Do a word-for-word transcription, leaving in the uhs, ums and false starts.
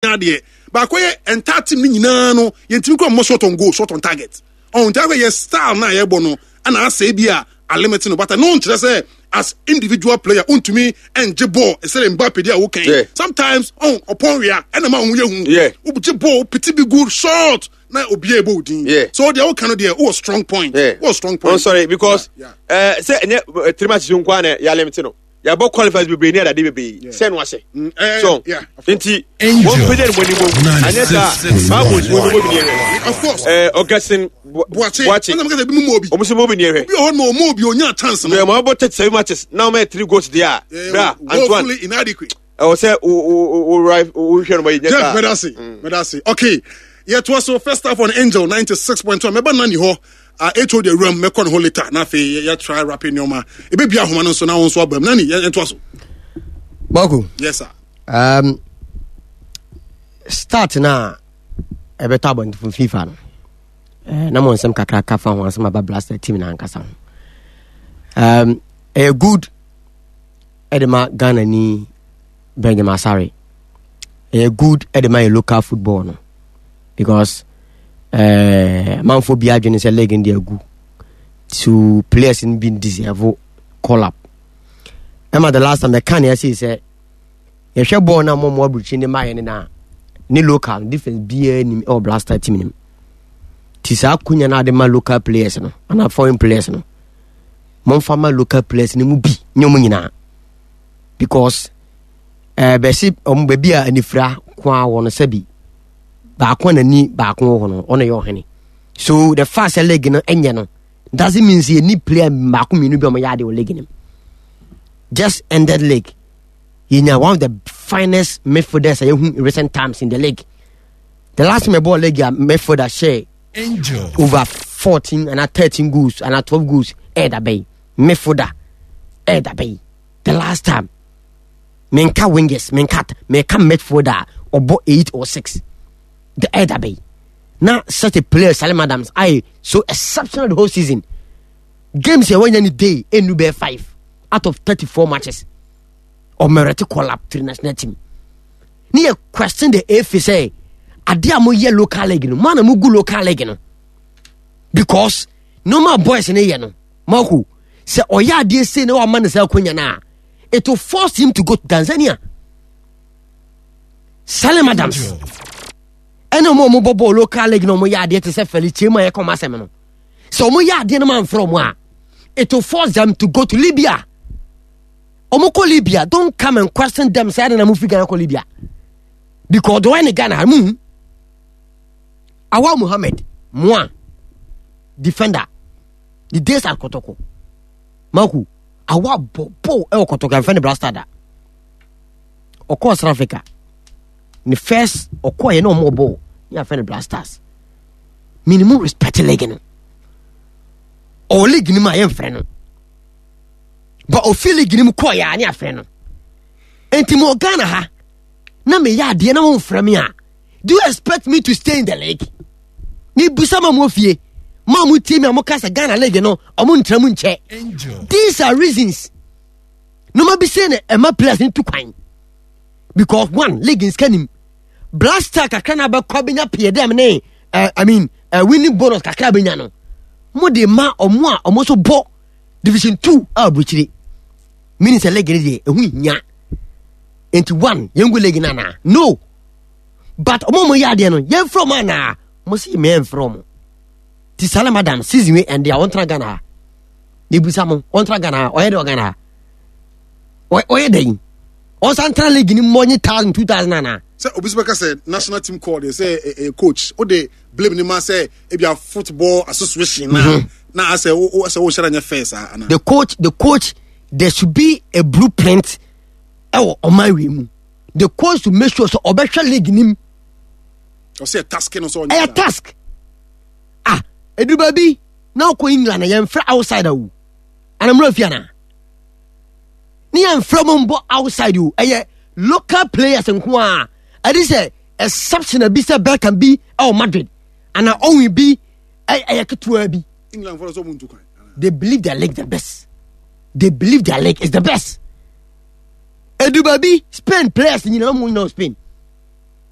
Adeɛ baako yɛ entire team no nyinaa no, yɛntumi kɔ mmɔ shot on goal, shot on target. Ɔn nti akɔ yɛ style na yɛbɔ no ɛna asɛ bi a alimit no, but no nkyerɛ sɛ as individual player ntumi ɛngye ball ɛsɛ Mbappe di a wokan. Yeah. Sometimes ɔn ɔpɔn wia ɛna ma ɔho yɛ hu. Yeah. Wogye ball piti bi, good shot na obiara ɛbɔ odin. Yeah. So deɛ woka no deɛ, wowɔ strong point. Yeah. Wowɔ strong point. I'm sorry because Yeah, uh, sɛ ɛnyɛ uh, three matches nko a na yɛalimit no, yɛabɔ qualifiers bebree ne adade bebree sɛ no ahyɛ. Mm, eh, so yeah, of course. Nti Angel, wɔn pagya ne mo anim anyɛ saa Bible si wɔn mo bi ne yɛhwɛ. Of course. ɛɛ Augustine Boakye. Boakye. Ɛna meka sɛ ebi mu ma obi. Wɔn nso mo bi ne yɛhwɛ. Obi wɔ hɔ na ɔma obi onya chance no. Bɛn mo abɔ thirty seven matches na wɔn yɛ three goals deɛ a Eh, bra Antoine woefully inadequate. Ɛwɔ sɛ wo wo wo wo wohwɛ no ma yi nyɛ Jeff. saa. Medase, medase. Okay, yɛtoa so, first half on Angel ninety-six point one. Mɛba nani hɔ uh, H O de awuram, mɛkɔ ne hɔ later na afei yɛ- yɛtry rapping nneɔma ɛbɛbia ahoma no nso na wo nso aba mu. Nani, yɛ- yɛntoa so. Marco. Yes sir. Um, start na ɛbɛtɔ abɔntefo FIFA no, eh, na mo nsɛm kakra ka fa ho asɛm aba Blaster team na ankasa ho. um, ɛyɛ good ɛde ma Ghana ni Benjamin Asare, ɛyɛ good ɛde ma yɛ local football no because eh, amanfoɔ bi adwene sɛ league no de agu so, players no bi deserve call up. Ɛma the last time ɛka ne ɛsei sɛ yɛhwɛ bɔɔl no a mɔmɔ aburukyi ne mayɛ no na ne local difference biara nim ɛwɔ Blaster team nim. Nti saa akonya no ade ma local players no anaa foreign players no, momfa ma local players no mu bi, nyɛ ɔmo nyinaa, because ɛɛ bɛsi ɔmo baabi a anifira ko a wɔ no, sɛbi baako a n'ani baako wɔ hɔ no, ɔno yɛ ɔhene. So the fact sɛ league no ɛnyɛ no doesn't mean sɛ yɛni player baako mmienu bi a ɔmo yɛ ade wɔ league no mu. Just ended league, yɛnya one of the finest midfielders a yɛhu in recent times in the league. The last time ɛbɔɔ league a midfielder hyɛ Angel over fourteen and thirteen goals and twelve goals ɛyɛ bɛyi midfielder ɛyɛ bɛyi the last time. Menka wingers, menka, menka midfielder a ɔbɔ eight or six the ɛyɛ bɛyi na such a player Salim Adams ayɛ so exceptional the whole season. Games yɛ wɔnya ne day ɛnu bɛyɛ five out of thirty-four matches ɔmɛrɛte call up to the national team. Ne yɛ question the F A sɛ adeɛ a moyɛ local league no mo ana mogu local league no, because normal boys ne yɛ no. Marco sɛ ɔyɛ adeɛ sei na wama ne sɛ akonya no a, it will force him to go to Tanzania. Salim Adams ɛne ɔmo a ɔmo bɔ bɔɔl local league na ɔmo yɛ adeɛ te sɛ Felicie mu a yɛkɔ ɔmo asɛm no sɛ ɔmo yɛ adeɛ no ma nfrɛ ɔmo a, it will force them to go to Libya. Ɔmo kɔ Libya, don't come and question them sɛ ɛde na mo fi Ghana kɔ Libya, because ɔdɔ ɛne Ghana mu hu. Awa Muhammed Moa, defender, the days at Kotoko. Maku awa bɔ bɔ ɛwɔ Kotoko ɛnfɛ ne Blaster da. Ɔkɔɔ South Africa ne first ɔkɔɔ yɛ ne ɔmo bɔ ne afɛ ne Blasters. Minimum respect league no, ɔwɔ league no mu a yɛmfrɛ no, but ofi league no mu kɔɔ yɛ a ne afrɛ no. Nti mo Ghana ha na meyɛ adeɛ na momfrɛ me a, do you expect me to stay in the league? Mebusa ma mo fie ma mo tie mi a moka sɛ Ghana league no ɔmo ntra mu nkyɛ. Angel These are reasons nneɛma bi sɛ na ɛma players no tu kwan, because one, league nsika nim. Blaster kakra na abɛkɔ abɛnya pii dɛm ne uh, I mean uh, winning bonus kakra abɛnya no, mo de ma ɔmo a ɔmo nso bɔ division two a aburukyire, meaning sɛ league no deɛ ɛho hia. Nti one, yɛn gu league no anaa? No, but ɔmo a ɔmo yɛ adeɛ no, yɛn fira ɔmo anaa? Mo si mɛ mfrɛ ɔmo. Ti Salim Adam season wei ɛnde a ɔntena Ghana ha na ebusa mo, ɔntena Ghana ha, ɔyɛ dɛ ɔGhana ha ɔyɛ dɛ yi, ɔnsan tena league ni mmɔ nye thousand two thousand anaa? Sɛ obi sɛ bɛka sɛ national team call deɛ sɛ ɛ ɛ coach o de blame ne ma sɛ ebi a football association na Mhm. na asɛ o o sɛ o hyɛ dɛ nyɛ fair saa ana? the coach the coach there should be a blueprint ɛwɔ ɔman wi mu. The coach to make sure sɛ ɔbɛhwɛ league nim. Ɔsɛ yɛ task no sɛ ɔnyɛ ɛyɛ saa. Task ah, eduru baabi na ɔkɔ England na yɛnfrɛ outside awu anamuna fi ana ne yɛnfrɛ mo mbɔ outside o, ɛyɛ local players nko a ɛde sɛ exception bi sɛ Beckham bi ɛwɔ Madrid ana Owen bi ɛ- ɛyɛ ketewa bi. England fɔlɔ sɛ ɔmo ntu kwan ana? They believe their league the best. They believe their league is the best. Edu baabi, Spain players nyinaa mu nyinaa wɔ Spain.